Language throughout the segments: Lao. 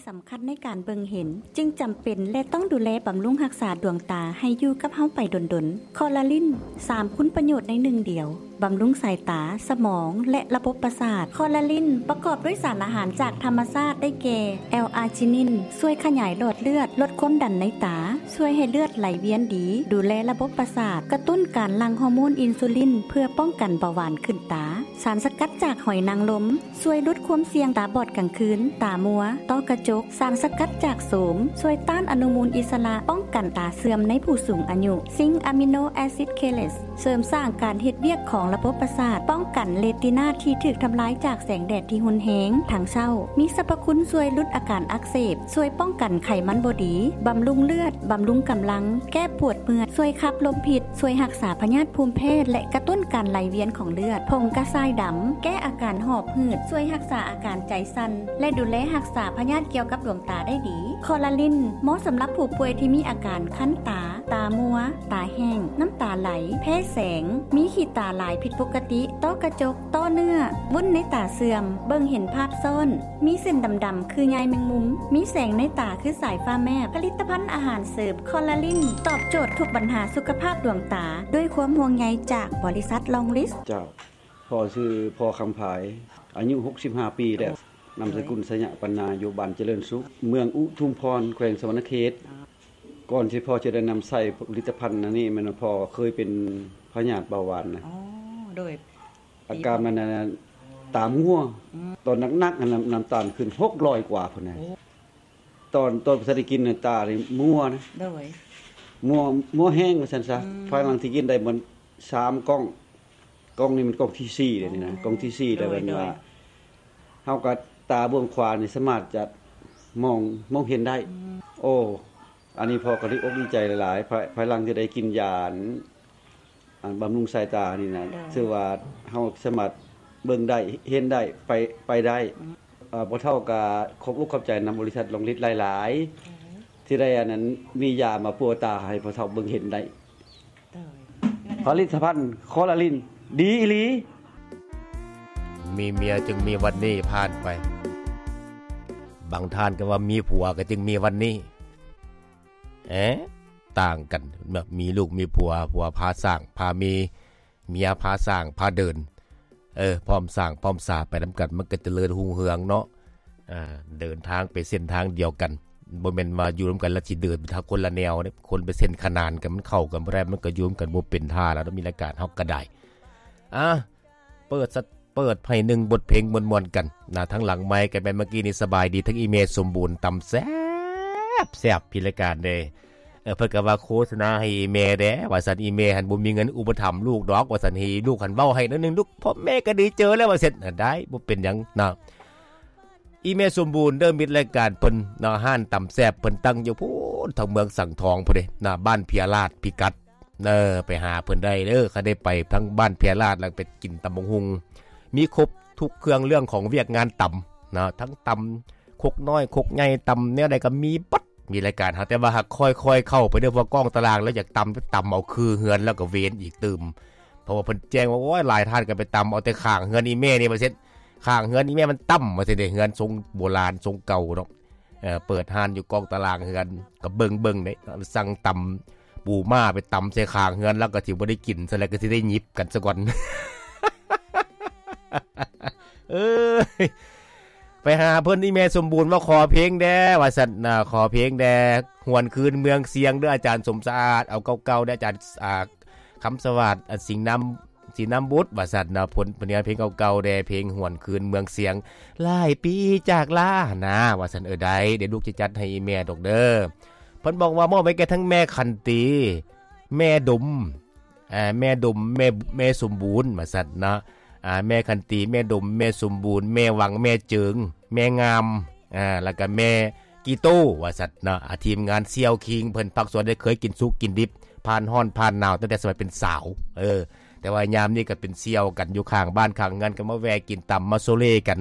ສຳຄັນໃນການເບິ່ງເຫັນ ຈຶ່ງຈຳເປັນ ແລະ ຕ້ອງດູແລບຳລຸງຮັກສາດວງຕາໃຫ້ຢູ່ກັບເຮົາໄປດົນໆ. ຄໍລາລິນ ສາມຄຸນປະໂຫຍດໃນໜຶ່ງດຽວ, ບຳລຸງສາຍຕາ, ສະໝອງ ແລະ ລະບົບປະສາດ. ຄໍລາລິນປະກອບດ້ວຍສານອາຫານຈາກທຳມະຊາດ ໄດ້ແກ່ ແອລອາຈິນິນ ຊ່ວຍຂະຫຍາຍຫຼອດເລືອດ, ລົດຄວາມດັນໃນຕາ, ຊ່ວຍໃຫ້ເລືອດໄຫຼວຽນດີ, ດູແລລະບົບປະສາດ, ກະຕຸ້ນການຫຼັ່ງຮໍໂມນອິນຊູລິນ ເພື່ອປ້ອງກັນເບົາຫວານຂຶ້ນຕາ. ສານສະກັດຈາກຫອຍນາງລົມ ຊ່ວຍຫຼຸດຄວາມສ່ຽງຕາບອດກາງຄືນ, ຕາມົວ, ຕ້ອກະຈົກ. ສານສະກັດຈາກໂສມ ຊ່ວຍຕ້ານອະນຸມູນອິດສະຫຼະ, ປ້ອງກັນຕາເສື່ອມໃນຜູ້ສູງອາຍຸ. ຊິງອາມິໂນແອຊິດເຄເລດ ເສີມສ້າງການເຮັດວຽກຂອງລະບົບປະສາດ, ປ້ອງກັນເຣຕີນາທີ່ຖືກທຳລາຍຈາກແສງແດດທີ່ຮຸນແຮງທັງເຊົ້າ. ມີສັບພະຄຸນຊ່ວຍຫຼຸດອາການອັກເສບ, ຊ່ວຍປ້ອງກັນໄຂມັນບໍ່ດີ, ບຳລຸງເລືອດ, ບຳລຸງກຳລັງ, ແກ້ປວດເມື່ອຍ, ຊ່ວຍຂັບລົມພິດ, ຊ່ວຍຮັກສາພະຍາດພູມແພ້ ແລະ ກະຕຸ້ນການໄຫຼວຽນຂອງເລືອດ. ຜົງກະຊາຍດຳ ແກ້ອາການຫອບຫືດ, ຊ່ວຍຮັກສາອາການໃຈສັ່ນ ແລະ ດູແລຮັກສາພະຍາດກ່ຽວກັບດວງຕາໄດ້ດີ. ຄໍລາລິນ ເໝາະສຳລັບຜູ້ປ່ວຍທີ່ມີອາການຄັນຕາ, ຕາມົວ, ຕາແຫ້ງ, ນ້ຳຕາໄຫຼ, ແພ້ແສງ, ມີຂີ້ຕາຫຼາຍຜິດປົກກະຕິ, ຕ້ອກະຈົກ, ຕ້ອເນື້ອ, ວຸ້ນໃນຕາເສື່ອມ, ເບິ່ງເຫັນພາບຊ້ອນ, ມີເສັ້ນດຳໆຄືໃຍແມງມຸມ, ມີແສງໃນຕາຄືສາຍຟ້າແມບ. ຜະລິດຕະພັນອາຫານເສີມຄໍລາລິນ ຕອບໂຈດທຸກບັນຫາສຸຂະພາບດວງຕາ ດ້ວຍຄວາມຫ່ວງໃຍຈາກບໍລິສັດລອງລິດ. ເຈົ້າ. ພໍ່ຊື່ພໍ່ຄຳພາຍ ອາຍຸຫົກສິບຫ້າປີແລ້ວ, ນາມສະກຸນໄຊຍະປັນນາ ຢູ່ບ້ານຈະເລີນສຸກ ເມືອງອຸທຸມພອນ ແຂວງສະຫວັນນະເຂດ. ກ່ອນທີ່ພໍ່ຈະໄດ້ນຳໃຊ້ຜະລິດຕະພັນອັນນີ້ ແມ່ນວ່າພໍ່ເຄີຍເປັນພະຍາດເບົາຫວານນະ. ອໍ ໂດຍ ອາການມັນນັ້ນ ຕາມົວ. ອືມ ຕອນໜັກໆ ນ້ຳ ນ້ຳຕານຂຶ້ນຫົກຮ້ອຍກວ່າພຸ້ນນະ. ໂອ້ ຕອນ ຕອນບໍ່ທັນໄດ້ກິນນະ ຕານີ້ມົວນະ. ໂດຍ ມົວ ມົວແຮງວ່າຊັ້ນຊະ. ອືມ ພາຍຫຼັງທີ່ກິນໄດ້ມັນສາມກ່ອງ, ກ່ອງນີ້ມັນກ່ອງທີສີ່ແລ້ວນີ້ນະ. ໂອ້ ກ່ອງທີສີ່ແລ້ວ. ໂດຍ ແມ່ນວ່າ ໂດຍ ເຮົາກໍຕາເບື້ອງຂວານີ້ສາມາດຈະມອງ ມອງເຫັນໄດ້. ອືມ ໂອ້ ອັນນີ້ພໍ່ກໍດີອົກດີໃຈຫຼາຍໆ ພາຍ ພາຍຫຼັງທີ່ໄດ້ກິນຢາ ອັນ ອັນບຳລຸງສາຍຕານີ້ນະ. ໂດຍ ຖືວ່າເຮົາສາມາດເບິ່ງໄດ້ ເຫັນໄດ້ ໄປ ໄປໄດ້. ອືມ ເອີ ພໍ່ເຖົ້າກໍຂອບອົກຂອບໃຈນຳບໍລິສັດລອງລິດຫຼາຍໆ. ໂດຍ ທີ່ໄດ້ອັນນັ້ນ ມີຢາມາປົວຕາໃຫ້ພໍ່ເຖົ້າເບິ່ງເຫັນໄດ້. ໂດຍ ຜະລິດຕະພັນຄໍລາລິນ ດີອີ່ຫຼີ. ມີເມຍຈຶ່ງມີວັນນີ້ ຜ່ານໄປ. ບາງທ່ານກໍວ່າມີຜົວກໍຈຶ່ງມີວັນນີ້. ເອ ຕ່າງກັນ ແບບມີລູກມີຜົວ ຜົວພາສ້າງພາມີ ເມຍພາສ້າງພາເດີນ. ເອີ ພ້ອມສ້າງພ້ອມສາໄປນຳກັນ ມັນກໍຈະເລີນຮຸ່ງເຮືອງເນາະ. ອ່າ ເດີນທາງໄປເສັ້ນທາງດຽວກັນ ບໍ່ແມ່ນວ່າຢູ່ນຳກັນແລ້ວຊິເດີນໄປທາງຄົນລະແນວເດ້. ຄົນໄປເສັ້ນຂະໜານກັນ ມັນເຂົ້າກັນບໍ່ໄດ້ ມັນກໍຢູ່ນຳກັນບໍ່ເປັນທ່າແລ້ວ. ມີລາຍການເຮົາກໍໄດ້ ອ່າ ເປີດສະ ເປີດໃຫ້ໜຶ່ງບົດເພງມ່ວນໆກັນນະ. ທາງຫຼັງໄມກະແມ່ນເມື່ອກີ້ນີ້ ສະບາຍດີທັງອີ່ແມ່ສົມບູນ ຕຳແຊບໆ ພິລະການເດ້. ເອີ ເພິ່ນກໍວ່າໂຄສະນາໃຫ້ອີ່ແມ່ແດ່ວ່າຊັ້ນ. ອີ່ແມ່ຫັ້ນບໍ່ມີເງິນອຸປະຖຳລູກດອກວ່າຊັ້ນ. ໃຫ້ລູກຫັ້ນເວົ້າໃຫ້ໜ້ອຍໜຶ່ງລູກ ພໍ່ແມ່ກໍດີເຈີແລ້ວວ່າຊັ້ນ. ໄດ້ ບໍ່ເປັນຫຍັງເນາະ. ອີ່ແມ່ສົມບູນເດີ ມິດລາຍການເພິ່ນເນາະ ຮ້ານຕຳແຊບເພິ່ນຕັ້ງຢູ່ພຸ້ນ ທາງເມືອງສັງທອງພຸ້ນເດ້ເນາະ ບ້ານເພຍລາດ ພິກັດ ເອີ ໄປຫາເພິ່ນໄດ້ເດີ. ຄັນໄດ້ໄປທາງບ້ານເພຍລາດ ແລ້ວໄປກິນຕຳບັກຫຸ່ງ ມີຄົບທຸກເຄື່ອງເລື່ອງຂອງວຽກງານຕຳເນາະ ທັງຕຳຄົກນ້ອຍຄົກໃຫຍ່ ຕຳແນວໃດກໍມີເບິດ. ມີລາຍການເຮົາ ແຕ່ວ່າຫາກຄ່ອຍໆເຂົ້າໄປເດີ ເພາະກ້ອງຕາລາງແລ້ວຢາກຕຳ ຕຳເອົາຄືເຮືອນແລ້ວກໍເວນອີກຕື່ມ. ເພາະວ່າເພິ່ນແຈ້ງວ່າ ໂອ້ຍ ຫຼາຍທ່ານກໍໄປຕຳເອົາແຕ່ຂ້າງເຮືອນອີ່ແມ່ນີ້ວ່າຊັ້ນ. ຂ້າງເຮືອນອີ່ແມ່ມັນຕ່ຳວ່າຊັ້ນເດ້ ເຮືອນຊົງໂບລານຊົງເກົ່າເນາະ. ເອີ ເປີດຮ້ານຢູ່ກ້ອງຕາລາງເຮືອນ ກໍເບິ່ງໆເດ້ ສັ່ງຕຳປູມ້າໄປຕຳໃສ່ຂ້າງເຮືອນ ແລ້ວກໍຊິບໍ່ໄດ້ກິນຊະແລ້ວ ກໍຊິໄດ້ຫຍິບກັນຊະກ່ອນ. ເອີຍ ໄປຫາເພິ່ນ ອີ່ແມ່ສົມບູນວ່າຂໍເພງແດ່ວ່າຊັ້ນນະ ຂໍເພງແດ່ ຫວນຄືນເມືອງຊຽງເດີ ອາຈານສົມສະອາດ ເອົາເກົ່າໆເດີ ອາຈານ ອ່າ ຄຳສະຫວາດ ອັນ ສິງນຳ ສີນຳບຸດວ່າຊັ້ນນະ. ເພິ່ນ ເພິ່ນເຮັດເພງເກົ່າໆແດ່ ເພງຫວນຄືນເມືອງຊຽງ ຫຼາຍປີຈາກລານະວ່າຊັ້ນ. ເອີ ໄດ້ ດຽວລູກຈະຈັດໃຫ້ອີ່ແມ່ດອກເດີ. ເພິ່ນບອກວ່າມອບໃຫ້ແກ່ທັງແມ່ຂັນຕີ ແມ່ດົມ ອ່າ ແມ່ດົມ ແມ່ ແມ່ສົມບູນວ່າຊັ້ນເນາະ. ອ່າ ແມ່ຂັນຕີ ແມ່ດົມ ແມ່ສົມບູນ ແມ່ຫວັງ ແມ່ເຈິງ ແມ່ງາມ ອ່າ ແລ້ວກໍແມ່ ກີໂຕວ່າຊັ້ນເນາະ. ອ່າ ທີມງານສ່ຽວຄິງ ເພິ່ນພັກສວນໄດ້ເຄີຍກິນສຸກກິນດິບ ຜ່ານຮ້ອນຜ່ານໜາວ ຕັ້ງແຕ່ສະໄໝເປັນສາວ. ເອີ ແຕ່ວ່າຍາມນີ້ກໍເປັນສ່ຽວກັນຢູ່ຂ້າງບ້ານຂ້າງເຮືອນ ກໍມາແວ່ກິນຕຳ ມາໂຊເລກັນ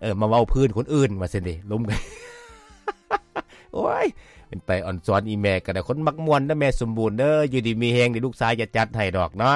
ເອີ ມາເວົ້າພື້ນຄົນອື່ນວ່າຊັ້ນເດ ລົມກັນ. ໂອ້ຍ ເປັນໄປອອນຊອນອີ່ແມ່ກໍໄດ້. ຄົນມັກມ່ວນເດີແມ່ສົມບູນເດີ ຢູ່ດີມີແຮງ ດຽວລູກຊາຍຈະຈັດໃຫ້ດອກເນາ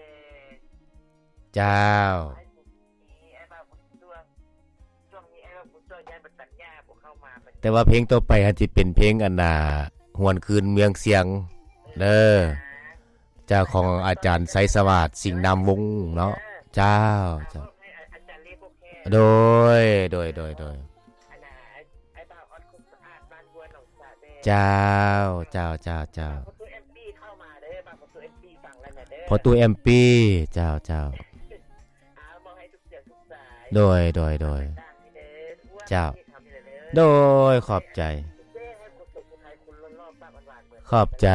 ແດ່ ເຈົ້າ ໃຫ້ບຸນມີ ອ້າຍບ່າວບຸນຊ່ວງ ຊ່ວງນີ້ອ້າຍບ່າວບຸນຊ່ວງຍ້າຍໄປຕັດຫຍ້າບໍ່ເຂົ້າມາບັດນີ້ ແຕ່ວ່າເພງຕໍ່ໄປຫັ້ນຊິເປັນເພງອັນນ່າ ຫວນຄືນເມືອງຊຽງເດີ ເຈົ້າ ຂອງອາຈານໄຊສະຫວາດ ສິງນາມວົງເນາະ ເຈົ້າ ເຈົ້າ ໃຫ້ອາຈານເລໂກແຄ ໂດຍ ໂດຍ ໂດຍ ໂດຍ ອັນນ່າ ອ້າຍ ອ້າຍບ່າວອອດຄົນສະອາດ ບ້ານຫ້ວຍໜອງສາແດງ ເຈົ້າ ເຈົ້າ ເຈົ້າ ເຈົ້າ ພໍ່ຕູ້ແອມປີ້ເຂົ້າມາເດີ ບ້ານພໍ່ຕູ້ແອມປີ້ຟັງແລ້ວນະເດີ ພໍ່ຕູ້ແອມປີ້ ເຈົ້າ ເຈົ້າ ເອົາ ມອບໃຫ້ທຸກສຽງທຸກສາຍ ໂດຍ ໂດຍ ໂດຍ ເຈົ້າ ໂດຍ ຂອບໃຈ ຂອບໃຈ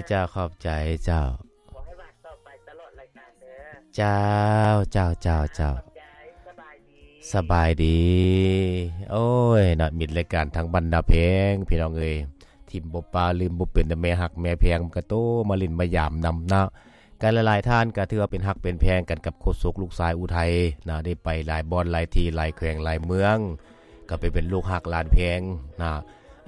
ເຈົ້າ ຂອບໃຈ ເຈົ້າ ຂໍໃຫ້ຫວານຕໍ່ໄປຕະຫຼອດລາຍການເດີ ເຈົ້າ ເຈົ້າ ເຈົ້າ ເຈົ້າ ຂອບໃຈ ສະບາຍດີ ສະບາຍດີ ໂອ້ຍ ນະ ມິດລາຍການທາງບ້ານນາແພງ ພີ່ນ້ອງເອີຍ ຖິ້ມບໍ່ປະລືມບໍ່ເປັນ ແມ່ຮັກແມ່ແພງ ມັນກະໂຕມາຫຼິ້ນມາຢາມນຳເນາະ ກະຫຼາຍໆທ່ານກະຖືວ່າເປັນຮັກເປັນແພງກັນກັບໂຄສົກລູກຊາຍອຸໄທນະ ໄດ້ໄປຫຼາຍບ່ອນຫຼາຍທີ່ຫຼາຍແຂວງຫຼາຍເມືອງ ກະໄປເປັນລູກຮັກຫຼານແພງນະ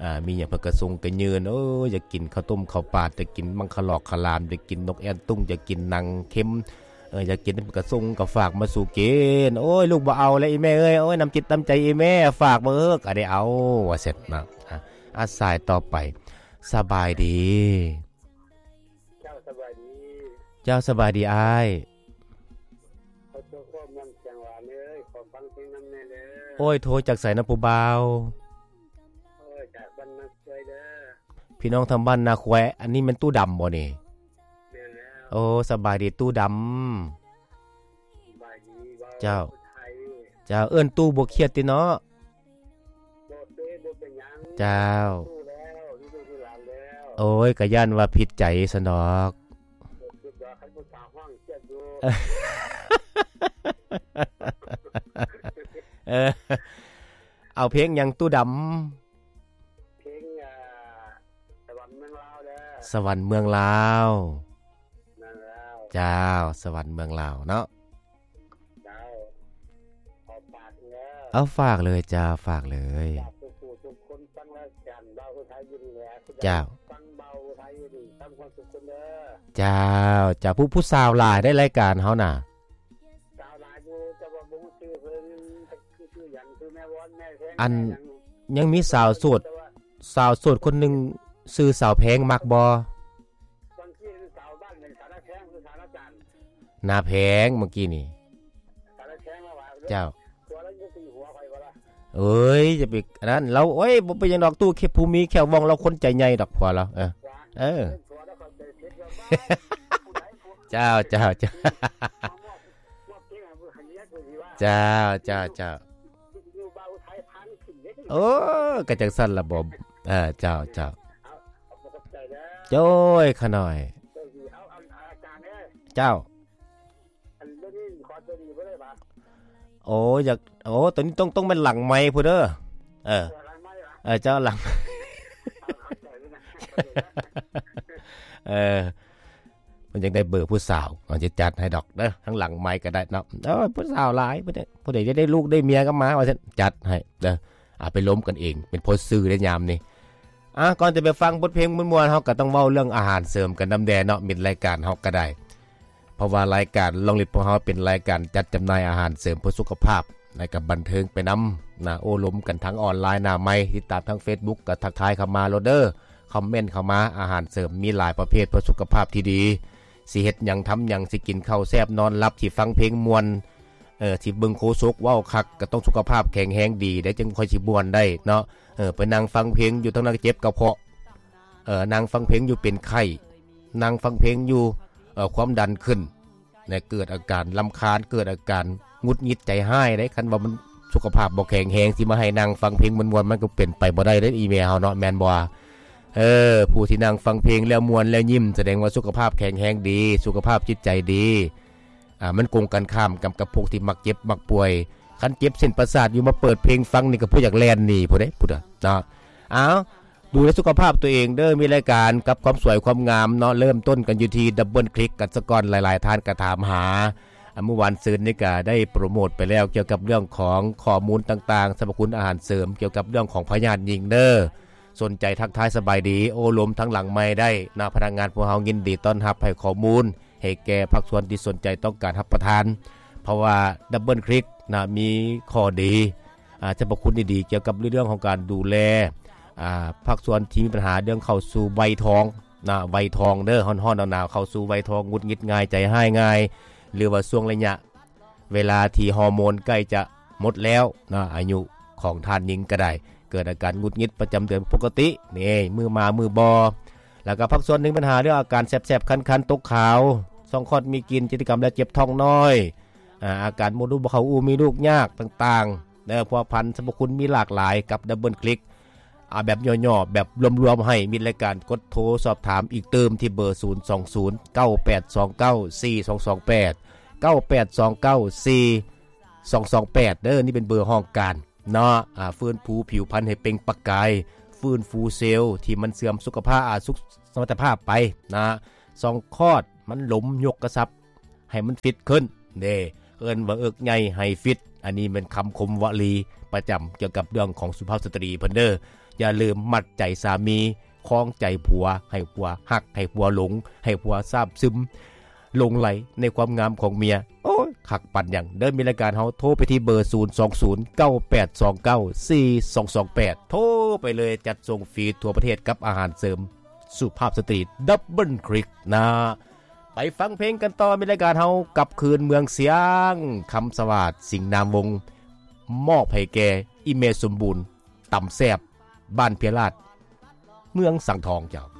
ອ່າ ມີຫຍັງເພິ່ນກະສົ່ງກະຍື່ນ ໂອ້ຍ ຢາກກິນເຂົ້າຕົ້ມເຂົ້າປາດ ຢາກກິນມັງຄະຫຼອກຂະຫຼາມ ຢາກກິນນົກແອ່ນຕຸ້ງ ຢາກກິນໜັງເຄັມ ເອີ ຢາກກິນເພິ່ນກະສົ່ງກະຝາກມາສູ່ກິນ ໂອ້ຍ ລູກບໍ່ເອົາແລ້ວອີ່ແມ່ເອີຍ ໂອ້ຍ ນ້ຳຈິດນ້ຳໃຈອີ່ແມ່ຝາກມາເອີ ກະໄດ້ເອົາ ວ່າຊັ້ນນະ ອ່າ ສາຍຕໍ່ໄປ ສະບາຍດີ ເຈົ້າ ສະບາຍດີ ເຈົ້າ ສະບາຍດີອ້າຍ ຂໍໂທ ເມືອງຊຽງຫວານເອີຍ ຂໍຟັງເພງນຳແດ່ເດີ ໂອ້ຍ ໂທຈາກໃສນະຜູ້ບ່າວ ໂອ້ຍ ຈາກບ້ານນາຄວາຍເດີ ພີ່ນ້ອງທາງບ້ານນາຄວາຍ ອັນນີ້ແມ່ນຕູ້ດຳບໍ່ນີ້ ແມ່ນແລ້ວ ໂອ້ ສະບາຍດີຕູ້ດຳ ສະບາຍດີ ເວົ້າ ເຈົ້າ ໄທ ເຈົ້າ ເອີ້ນຕູ້ບໍ່ຄຽດຕິເນາະ ບໍ່ເປັນ ບໍ່ເປັນຫຍັງ ເຈົ້າ ຮູ້ແລ້ວ ຮູ້ລູກຮູ້ຫຼານແລ້ວ ໂອ້ຍ ກະຢ້ານວ່າຜິດໃຈຊັ້ນດອກ ບໍ່ຜິດດອກ ຄັນຜູ້ສາວຮ້ອງຄຽດຢູ່ ເອີ ເອົາເພງຫຍັງຕູ້ດຳ ເພງ ອ່າ ສະຫວັນເມືອງລາວເດີ ສະຫວັນເມືອງລາວ ເມືອງລາວ ເຈົ້າ ສະຫວັນເມືອງລາວເນາະ ເຈົ້າ ຂໍຝາກເດີ ເອົາ ຝາກເລີຍ ເຈົ້າ ຝາກເລີຍ ຝາກທຸກຜູ້ທຸກຄົນຟັງລາຍການບ່າວຜູ້ໄທຢູ່ນີ້ແຫຼະ ເຈົ້າ ຟັງບ່າວຜູ້ໄທຢູ່ນີ້ ມີຄວາມສຸກເດີ ເຈົ້າ ເຈົ້າ ຜູ້ ຜູ້ສາວຫຼາຍເດ້ລາຍການເຮົານະ ສາວຫຼາຍຢູ່ ແຕ່ວ່າບໍ່ຮູ້ຊື່ເພິ່ນ ຄື ຊື່ຫຍັງ ຊື່ແມ່ວອນ ແມ່ແພງ ອັນ ແມ່ຫຍັງ ຍັງມີສາວໂສດ ແຕ່ວ່າ ສາວໂສດຄົນໜຶ່ງ ຊື່ສາວແພງ ມັກບໍ່? ບາງທີເປັນສາວບ້ານ ເປັນສາວນາແພງ ຄືສາວນາຈານ ນາແພງ ເມື່ອກີ້ນີ້ ສາວນາແພງລາວວ່າ ເຈົ້າ ຜົວລາວຢູ່ຕີຫົວຂ້ອຍບໍ່ລະ ເອີຍ ຢ່າໄປອັນນັ້ນລາວ ໂອ້ຍ ບໍ່ເປັນຫຍັງດອກ ຕູ້ເຂດ ຜູ້ມີແຂ້ວວ່ອງ ລາວຄົນໃຈໃຫຍ່ດອກ ຜົວລາວ ເອີ ເອີ ເປັນຜົວລາວເຂົ້າໃຈຜິດວ່າ ຜູ້ໃດຜູ້ ເຈົ້າ ເຈົ້າ ເຈົ້າ ມາມອບ ມອບເພງໃຫ້ເມຍ ເຈົ້າ ເຈົ້າ ເຈົ້າ ຢູ່ບ່າວໄທພານີ້ຂຶ້ນເດ້ ໂອ້ ກະຈັ່ງຊັ້ນລະບໍ ເອີ ເຈົ້າ ເຈົ້າ ເອົາ ໂອ້ຍ ຂະນ້ອຍ ເຈົ້າ ໂອ້ ຢາກ ໂອ້ ໂຕນີ້ຕ້ອງ ຕ້ອງແມ່ນຫຼັງໄມພຸ້ນເດີ ເອີ ເອີ ເຈົ້າ ຫຼັງ ເອີ ເພິ່ນຢາກໄດ້ເບີຜູ້ສາວ ເຮົາຊິຈັດໃຫ້ດອກເດີ ທາງຫຼັງໄມກໍໄດ້ເນາະ ເອີ ຜູ້ສາວຫຼາຍ ຜູ້ໃດ ຜູ້ໃດຈະໄດ້ລູກໄດ້ເມຍກໍມາວ່າຊັ້ນ ຈັດໃຫ້ເດີ ອາ ໄປລົມກັນເອງ ເປັນພໍ່ຊື່ໄດ້ຍາມນີ້. ອາ ກ່ອນຈະໄປຟັງບົດເພງມ່ວນໆ ເຮົາກໍຕ້ອງເວົ້າເລື່ອງອາຫານເສີມກັນນຳແດ່ເນາະ ມິດລາຍການເຮົາກໍໄດ້ ເພາະວ່າລາຍການລອງລິດພວກເຮົາເປັນລາຍການຈັດຈຳໜ່າຍອາຫານເສີມເພື່ອສຸຂະພາບ ແລະກໍບັນເທີງໄປນຳນະ ໂອ້ລົມກັນທາງອອນລາຍໜ້າໄມ ຕິດຕາມທາງເຟສບຸກກໍທັກທາຍເຂົ້າມາໂລດເດີ ຄອມເມັນເຂົ້າມາ ອາຫານເສີມມີຫຼາຍປະເພດເພື່ອສຸຂະພາບທີ່ດີ ຊິເຮັດຫຍັງທຳຫຍັງ ຊິກິນເຂົ້າແຊບນອນຫຼັບ ຊິຟັງເພງມ່ວນ ເອີ ຊິເບິ່ງໂຄສົກເວົ້າຄັກ ກໍຕ້ອງສຸຂະພາບແຂງແຮງດີໄດ໋ ຈຶ່ງຄ່ອຍຊິມ່ວນໄດ້ເນາະ ເອີ ໄປນັ່ງຟັງເພງຢູ່ທາງນັ້ນເຈັບກະເພາະ ເອີ ນັ່ງຟັງເພງຢູ່ເປັນໄຂ້ ນັ່ງຟັງເພງຢູ່ ເອີ ຄວາມດັນຂຶ້ນ ແລະ ເກີດອາການລຳຄານ ເກີດອາການຫງຸດຫງິດໃຈຮ້າຍໄດ໋ ຄັນວ່າມັນສຸຂະພາບບໍ່ແຂງແຮງ ຊິມາໃຫ້ນັ່ງຟັງເພງມ່ວນໆ ມັນກໍເປັນໄປບໍ່ໄດ້ເດ້ ອີແມ່ເຮົາເນາະ ແມ່ນບໍ່? ເອີ ຜູ້ທີ່ນັ່ງຟັງເພງແລ້ວມ່ວນແລ້ວຍິ້ມ ສະແດງວ່າສຸຂະພາບແຂງແຮງດີ ສຸຂະພາບຈິດໃຈດີ ອາ ມັນກົງກັນຂ້າມກັບ ກັບພວກທີ່ມັກເຈັບມັກປ່ວຍ ຄັນເຈັບເສັ້ນປະສາດຢູ່ມາເປີດເພງຟັງນີ້ກໍຜູ້ຢາກແລ່ນໜີພຸ້ນເດ້ ພຸ້ນນະເນາະ. ເອົາ ດູແລສຸຂະພາບຕົວເອງເດີ ມີລາຍການກັບຄວາມສວຍຄວາມງາມເນາະ ເລີ່ມຕົ້ນກັນຢູ່ທີ່ Double Click ກັນສະກ່ອນ ຫຼາຍໆທ່ານກໍຖາມຫາ ອາ ມື້ວານຊືນນີ້ກໍໄດ້ໂປຣໂມດໄປແລ້ວ ກ່ຽວກັບເລື່ອງຂອງຂໍ້ມູນຕ່າງໆ ສັບພະຄຸນອາຫານເສີມ ກ່ຽວກັບເລື່ອງຂອງພະຍາດຍິງເດີ ສົນໃຈທັກທາຍສະບາຍດີ ໂອ້ລົມທາງຫຼັງໄມໄດ້ນະ ພະນັກງານພວກເຮົາຍິນດີຕ້ອນຮັບໃຫ້ຂໍ້ມູນ ໃຫ້ແກ່ພາກສ່ວນທີ່ສົນໃຈຕ້ອງການຮັບປະທານ ເພາະວ່າ Double Click ນະ ມີຂໍ້ດີ ອາ ສັບພະຄຸນດີໆ ກ່ຽວກັບເລື່ອງຂອງການດູແລ ອາ ພາກສ່ວນທີ່ມີບັນຫາເລື່ອງເຂົ້າສູ່ໄວທອງນະ ໄວທອງເດີ ຮ້ອນໆ ໜາວໆ ເຂົ້າສູ່ໄວທອງ ຫງຸດຫງິດງ່າຍ ໃຈຮ້າຍງ່າຍ ຫຼືວ່າຊ່ວງໄລຍະ ເວລາທີ່ຮໍໂມນໃກ້ຈະໝົດແລ້ວນະ ອາຍຸຂອງທ່ານຍິງກໍໄດ້ ເກີດອາການຫງຸດຫງິດປະຈຳເດືອນປົກກະຕິ ນີ້ ມື້ມາມື້ບໍ່ ແລ້ວກໍພາກສ່ວນໜຶ່ງ ມີບັນຫາເລື່ອງອາການແສບໆ ຄັນໆ ຕົກຂາວ ຊ່ອງຄອດມີກິ່ນ ຈິດຕະກຳ ແລະ ເຈັບທ້ອງນ້ອຍ ອາ ອາການມົດລູກບໍ່ເຂົ້າອູ່ ມີລູກຍາກຕ່າງໆ ເອີ ພົວພັນ ສັບພະຄຸນມີຫຼາກຫຼາຍກັບ Double Click ອາ ແບບຫຍໍ້ໆ ແບບລວມໆ ໃຫ້ມິດລາຍການກົດໂທສອບຖາມອີກຕື່ມທີ່ເບີ ສູນສອງສູນ ເກົ້າແປດສອງເກົ້າ ສີ່ສອງສອງແປດ ເກົ້າແປດສອງເກົ້າ ສີ່ສອງສອງແປດ ເດີ ນີ້ເປັນເບີຫ້ອງການເນາະ ອາ ຟື້ນຟູຜິວພັນໃຫ້ເປັ່ງປະກາຍ ຟື້ນຟູເຊວທີ່ມັນເສື່ອມສຸຂະພາບ ອາ ສຸກ ສະມັດຕະພາບໄປນະ ຊ່ອງຄອດມັນຫຼົມ ຍົກກະຊັບ ໃຫ້ມັນຟິດຂຶ້ນເດ້ ເອີ້ນວ່າເອິກໃຫຍ່ໃຫ້ຟິດ ອັນນີ້ແມ່ນຄຳຄົມວະລີປະຈຳກ່ຽວກັບເລື່ອງຂອງສຸພາບສະຕຣີເພິ່ນເດີ ຢ່າລືມມັດໃຈສາມີ ຄອງໃຈຜົວ ໃຫ້ຜົວຮັກ ໃຫ້ຜົວຫຼົງ ໃຫ້ຜົວຊາບຊຶມ ຫຼົງໄຫຼໃນຄວາມງາມຂອງເມຍ ໂອ້ຍ ຄັກປານຫຍັງເດີ ມິດລາຍການເຮົາໂທໄປທີ່ເບີ ສູນສອງສູນ ເກົ້າແປດສອງເກົ້າ ສີ່ສອງສອງແປດ ໂທໄປເລີຍ ຈັດສົ່ງຟຣີທົ່ວປະເທດກັບອາຫານເສີມ ສຸພາບສະຕຣີ Double Click ນະ ໄປຟັງເພງກັນຕໍ່ ມີລາຍການເຮົາກັບຄືນເມືອງຊຽງ ຄຳສະຫວາດ ສິງນາມວົງ ມອບໃຫ້ແກ່ອີ່ແມ່ສົມບູນ ຕຳແຊບ ບ້ານເພຍລາດ ເມືອງສັງທອງເຈົ້າ.